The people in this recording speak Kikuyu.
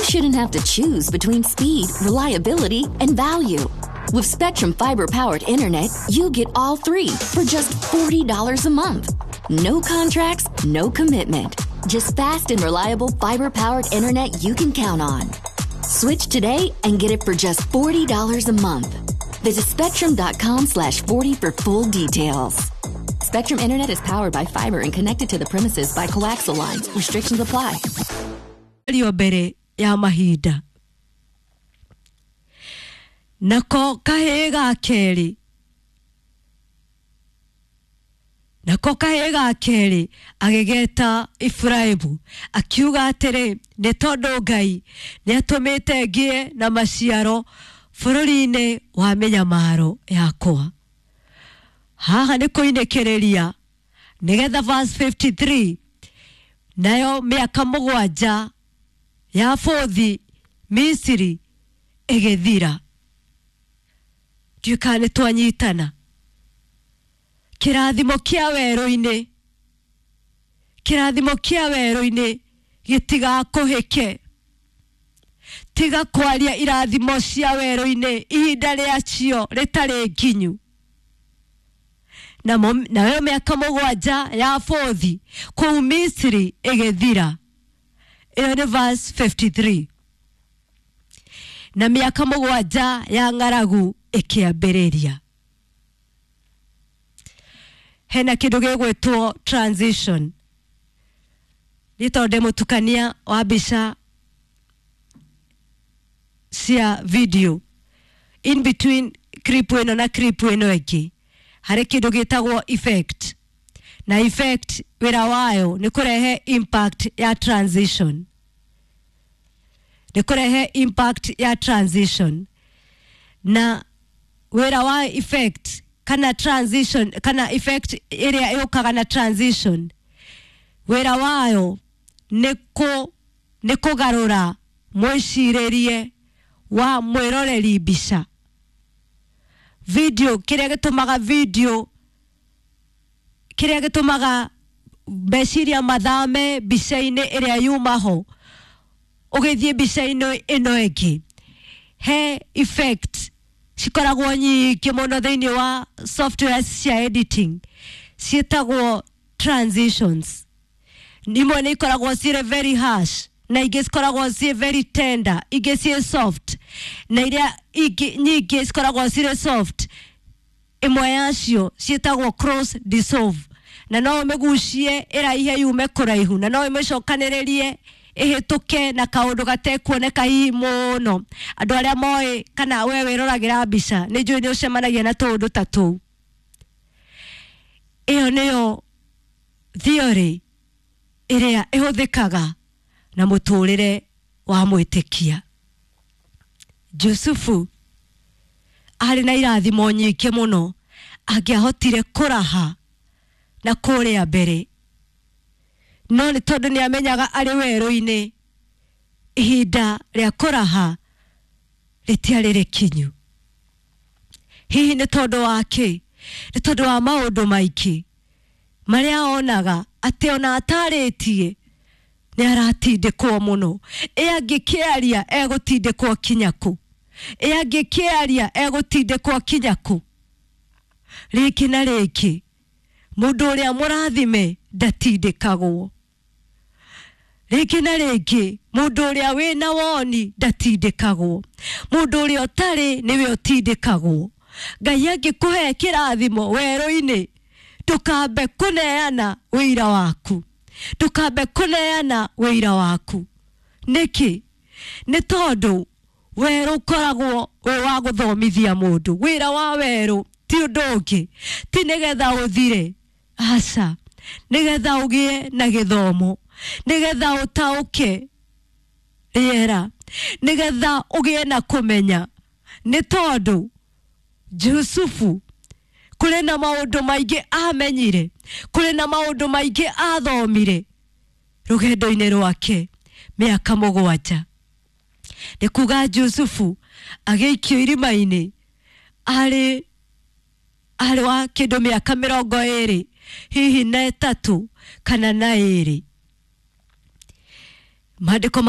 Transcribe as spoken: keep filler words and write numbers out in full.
shouldn't have to choose between speed, reliability, and value. With Spectrum Fiber-powered internet, you get all three for just forty dollars a month. No contracts, no commitment. Just fast and reliable fiber-powered internet you can count on. Switch today and get it for just forty dollars a month. Visit spectrum dot com slash forty for full details. Spectrum Internet is powered by fiber and connected to the premises by coaxial lines. Restrictions apply. Rio mbere ya mahinda. Nako kahĩĩ ga kerĩ, nako kahĩĩ ga kerĩ agĩgeta Iburaimu, akiuga atĩrĩ, nĩ tondũ Ngai nĩ atũmĩte ngĩe na maciaro bũrũri-inĩ wa mĩnyamaro yakwa. Haha nĩ kũinĩkĩrĩria nĩgetha verse fifty-three, nayo mĩaka mũgwanja ya bũthi Misiri ĩgĩthira. Ndiũĩ kana nĩ twanyitana. Kĩrathimo kĩa werũ-inĩ, kĩrathimo kĩa werũ-inĩ gĩtigakũhĩke. Tiga kwaria irathimo cia werũ-inĩ ihinda rĩacio rĩtarĩ nginyu. Namo nayo mĩaka mũgwanja ya bũthi kũu Misiri ĩgĩthira. Ĩyo nĩ verse fifty-three. Na mĩaka mũgwanja ya ng'aragu ĩkĩambĩrĩria. Hena kĩndũ gĩgwĩtwo transition. Nĩ tondũ ndĩ mũtukania wa mbica cia video, in between clip ĩno na clip ĩno ĩngĩ harĩ kĩndũ gĩtagwo effect, na effect wĩra wayo nĩ kũrehe impact ya transition, nĩ kũrehe impact ya transition. Na wĩra wa effect kana transition kana effect ĩrĩa ĩũkaga na transition, wĩra wayo nĩ kũ nĩ kũgarũra mwĩcirĩrie wa mwĩroreri mbica video. Kĩrĩa gĩtũmaga video, kĩrĩa gĩtũmaga meciria mathame mbica-inĩ ĩrĩa yuma ho ũgĩthiĩ mbica-inĩ ĩno ĩngĩ, he effect cikoragwo nyingĩ mũno thĩinĩ wa software cia editing ciĩtagwo transitions. Imwe nĩ ikoragwo cirĩ very harsh, na ingĩ cikoragwo ciĩ very tender, ingĩ ciĩ soft, na iria ingĩ nyingĩ cikoragwo cirĩ soft. Ĩmwe yacio ciĩtagwo cross dissolve, na no ũmĩgucie ĩraihe yume kũraihu, na no ĩmĩcokanĩrĩrie ĩhĩtũke na kaũndũ gatekuoneka hihi mũno. Andũ arĩa moĩ kana we wĩroragĩra mbica, nĩ njũĩ nĩ ũcemanagia na tũũndũ ta tũu. Ĩyo nĩyo theory ĩrĩa ĩhũthĩkaga na mũtũrĩre wa mwĩtĩkia. Jusufu arĩ na irathimo nyingĩ mũno angĩahotire kũraha na kũrĩa mbere, no nĩ tondũ nĩ amenyaga arĩ werũ-inĩ ihinda rĩa kũraha rĩtiarĩ rĩkinyu. Hihi nĩ tondũ wa kĩ? Nĩ tondũ wa maũndũ maingĩ marĩa onaga atĩ ona atarĩtie nĩ aratindĩkwo mũno. Ĩ angĩkĩaria egũtindĩkwo kinya kũ? Ĩ angĩkĩaria egũtindĩkwo kinya kũ? Rĩngĩ na rĩngĩ mũndũ ũrĩa mũrathime ndatindĩkagwo. Rĩngĩ na rĩngĩ mũndũ ũrĩa wĩna woni ndatindĩkagwo. Mũndũ ũrĩa ũtarĩ nĩwe ũtindĩkagwo. Ngai angĩkũhe kĩrathimo werũ-inĩ, ndũkambe kũneana wĩira waku, ndũkambe kũneana wĩira waku. Nĩkĩ? Nĩ tondũ werũ ũkoragwo wĩ wa gũthomithia mũndũ. Wĩra wa werũ ti ũndũ ũngĩ, ti nĩgetha ũthire, aca, nĩgetha ũgĩe na gĩthomo, nĩgetha ũtaũke rĩera, nĩgetha ũgĩe na kũmenya. Nĩ tondũ Jusufu kũrĩ na maũndũ maingĩ amenyire, kũrĩ na maũndũ maingĩ athomire rũgendo-inĩ rwake mĩaka mũgwanja. Nĩ kuga Jusufu agĩikio irima-inĩ arĩ arĩ wa kĩndũ mĩaka mĩrongo ĩrĩ hihi na ĩtatũ kana na ĩrĩ. Maandĩko ma